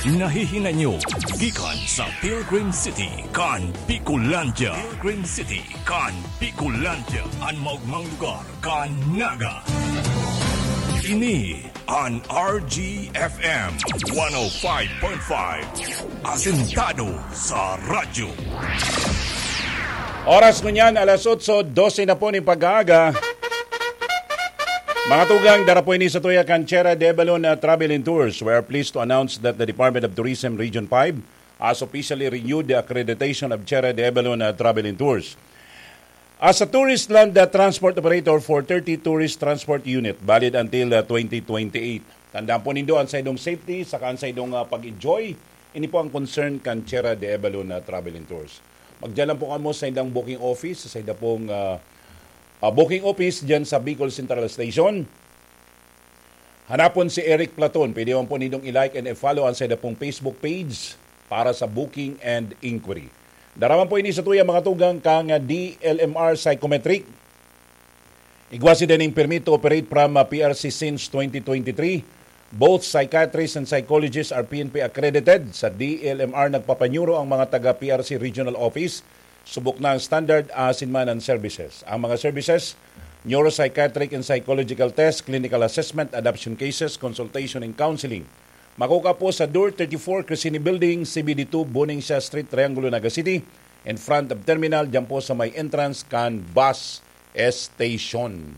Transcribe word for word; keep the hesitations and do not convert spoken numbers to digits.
Nahihinanyo gikan sa Pilgrim City kan Bicolandia. Pilgrim City kan Bicolandia, an maogmang lugar kan Naga. Ini an R G F M one oh five point five, asentado sa radyo. Oras ngunyan, alas otso dose na po nin pag-aaga. Mga tugang, dara po ini sa tuya kan Chera de Balon, uh, Travel and Tours. We are pleased to announce that the Department of Tourism Region five has officially renewed the accreditation of Chera de Balon, uh, Travel and Tours as a tourist land, uh, transport operator for thirty tourist transport unit, valid until, uh, twenty twenty-eight. Tandaan po nindo ang saindong safety saka ang saindong, uh, pag-enjoy. Ini po ang concern kan Chera de Balon, uh, Travel and Tours. Magdiyan lang po kamo sa indang booking office, sa inda pong, uh, uh, booking office diyan sa Bicol Central Station. Hanapon si Eric Platon. Pwede man po nindong i-like and i-follow ang saida pong Facebook page para sa booking and inquiry. Dara man po ini sa tuya, mga tugang, kan D L M R Psychometric. Igwa sinda ning permit to operate from, uh, P R C since twenty twenty-three. Both psychiatrists and psychologists are P N P accredited. Sa D L M R, nagpapanyuro ang mga taga P R C Regional Office. Subok na ang standard, asin man ang services. Ang mga services, neuropsychiatric and psychological test, clinical assessment, adoption cases, consultation and counseling. Makukua po sa Door thirty-four, Crescini Building, C B D two, Buning Siya Street, Triangulo, Naga City, in front of terminal, diyan po sa may entrance kan bus station.